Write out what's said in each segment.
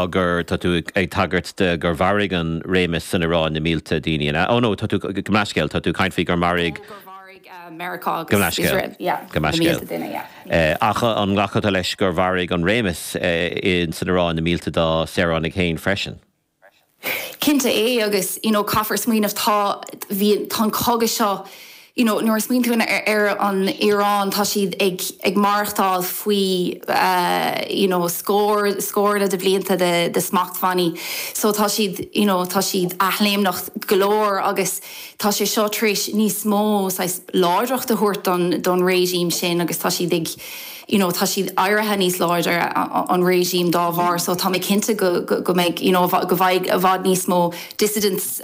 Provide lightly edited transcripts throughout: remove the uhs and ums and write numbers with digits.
Gur, tá tú ag tagairt de gur mharaigh an réimeas san Iaráin na mílte daoine, an ea? Oh no, tá tú, gabh mo leithscéal, tá tú ag caint faoi gur mharaigh. Oh, gur mharaigh Meiriceá agus Iosrael, yeah, na mílte duine, yeah. Ach an nglacfá tú leis gur mharaigh an réimeas san Iaráin na mílte dá saoránaigh féin freisin? Cinnte é agus, you know, caithfear smaoineamh, tá, bhí, tá an cogadh seo, you know, nuair a smaoiníonn tú ar an Iaráin, tá siad ag, ag maireachtáil faoi, you know, scór, scóranna de bhlianta de, de smachtbhannaí. So tá siad, you know, tá siad athléimneach go leor agus tá sé seo tar éis níos mó saghas láidreacht a thabhairt don, don regime sin agus tá siad ag, you know tá siad éirithe níos láidre an regime dá bharr so tá mé cinnte go go mbeidh you know go bhfaighidh i bhfad níos mó dissidents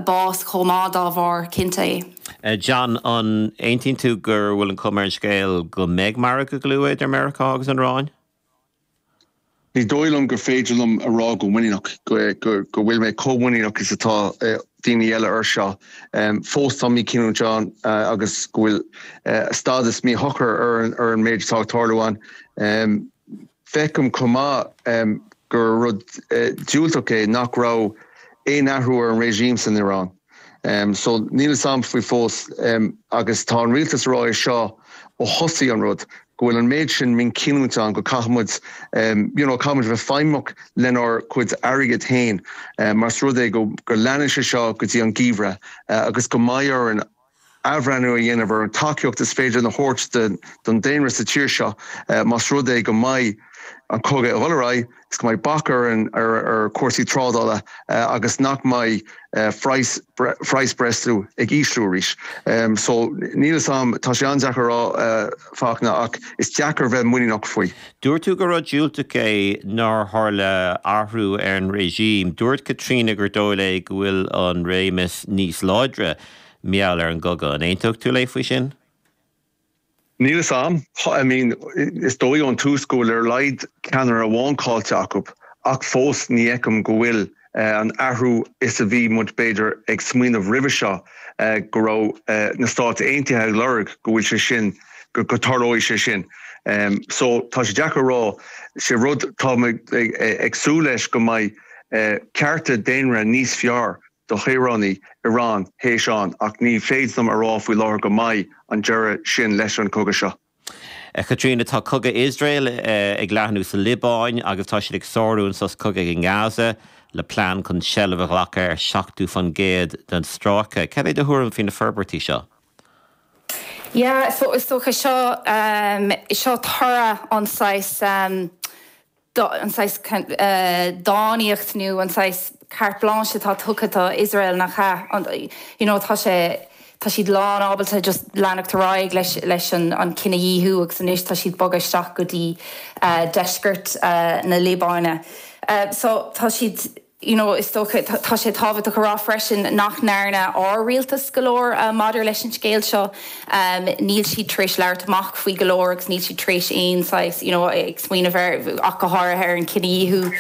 bás chomh maith dá bharr, cinnte é. John, an aontaíonn tú go bhfuil an chuma ar an scéal go mbeidh margadh go luath idir Meiriceá agus an Iaráin? Ní dóigh liom gur féidir liom a rá go muiníneach go bhfuil mé chomh muiníneach is atá daoine eile air seo. Fós tá míchinniúint ann agus go bhfuil stádas míshocair ar an méid atá ag tarlú ann. Feicim chomh maith gur rud diúltach é nach raibh aon athrú ar an regime san Iaráin. So níl fhios a'm faoi fós agus tá an rialtas ag rá é seo ó thosaigh an rud, go bhfuil an méid sin míchinniúint ann go caithfidh muid you know caithfidh muid a bheith feidhmeach lenár gcuid airgid féin más rud é go go leanann sé seo go dtí an geimhreadh agus go mbeidh orainn athbhreithniú a dhéanamh ar an tacaíocht is féidir a thabhairt don daonra sa tír seo más rud é go mbeidh an cogadh ag dul ar aghaidh is go mbeidh bac ar ar chúrsaí trádála agus nach mbeidh praghas praghas breosla ag ísliú arís. So níl fhios a'm, tá sé an-deacair a rá Fachtna ach is deacair bheith muiníneach faoi. Dúirt tú gur rud diúltach é nár tharla athrú ar an regime. Dúirt Caitríona gur dóigh léi go bhfuil an réimeas níos láidre Mar gheall ar an gcogadh. An aontódh tú léi faoi sin? Níl fhios a'm. I mean, is dóigh ón tús go bhfuil ar a laghad ceannaire amháin caillte acu, ach fós ní fheicim go bhfuil an athrú is a bhí muid b'fhéidir ag smaoineamh roimhe seo go raibh na Stáit Aontaithe ag lorg go bhfuil sé sin, go dtarlóidh sé sin. So tá sé deacair a rá. Sé rud tá mé ag súil leis go mbeidh cearta daonra níos fearr do shaoránaigh Iran théis ann ach ní féidir liom a rá faoi láthair go mbeidh an deireadh sin leis an cogadh seo. A Chaitríona, tá cogadh Iosrael ag leathnú sa Liobáin agus tá siad ag sárú an sos cogaidh i nGaza le plean chun seilbh a ghlacadh ar 70% den stráice. Cad é do thuairim faoi na forbairtí seo? Yeah, so is dócha seo, seo toradh an saghas, an saghas dánaíocht nó an saghas carte blanche atá tugtha do Iosrael, nach ea? You know, tá sé, tá siad lán ábalta just leanacht ar aghaidh leis, leis an, an cinedhíothú agus anois tá siad bogadh isteach go dtí deisceart na Liobáine. So tá siad. You know, is dócha, tá sé tábhachtach a rá freisin nach ndearna ár rialtas go leor maidir leis an scéal seo. Níl siad tar éis labhairt amach faoi go leor agus níl siad tar éis aon saghas, you know, ag smaoineamh ar, ach go háirithe ar an cinedhíothú,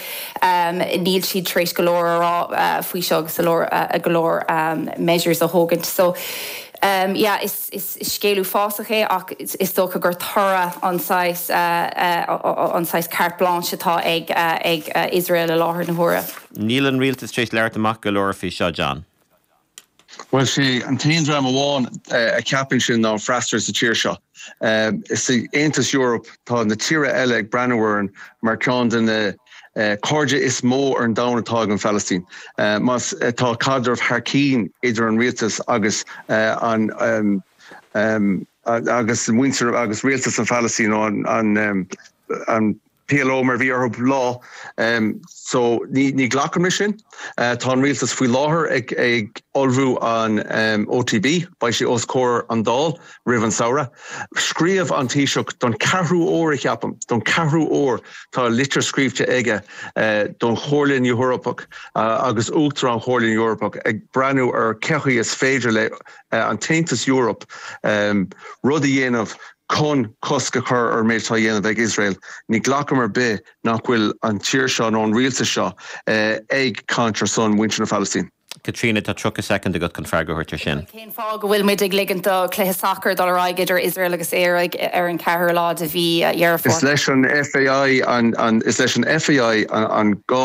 níl siad tar éis go leor a rá faoi seo agus go leor, go leor measures a thógaint. So, yeah, is. Is scéal uafásach é ach is dócha gur toradh an saghas an saghas carte blanche atá ag ag Iosrael i láthair na huaire. Níl an rialtas tar éis labhairt amach go leor faoi seo, John. Bhuel, sé an t-aon dream amháin a cheapann sin ná an freasúra sa tír seo. Sa Aontas Eoraip tá na tíortha eile ag breathnú orainn mar ceann de na cairde is mó ar an domhan atá ag an Phalaistín. Más tá caidreamh thar cinn idir an rialtas agus an agus muintir agus rialtas an Phalaistín nó an an PLO mar a bhí orthu lá. So ní ghlacaim leis sin. Tá an rialtas faoi láthair ag ag ullmhú an OTB, beidh sé os comhair an Dáil roimh an samhradh. Scríobh an Taoiseach don ceathrú uair, a cheapaim, don ceathrú uair tá litir scríobhte aige don Chomhairle na Eorpach agus Uachtarán Chomhairle na Eorpach ag breathnú ar cé chaoi is féidir le an tAontas Eoraip rud a dhéanamh chun cosc a chur ar an méid atá á dhéanamh ag Iosrael. Ní ghlacaim ar bith nach bhfuil an tír seo nó an rialtas seo ag caint ar son mhuintir na Phalaistín. Caitríona, tá 30 soicind agat chun freagra a thabhairt ar sin. Cén fáth go bhfuil muid ag ligint do chluiche sacair dul ar aghaidh idir Iosrael agus Éire ar an 4ú lá de mhí Dheireadh Is Fómhair? leis an FAI an, is leis an FAI an gá.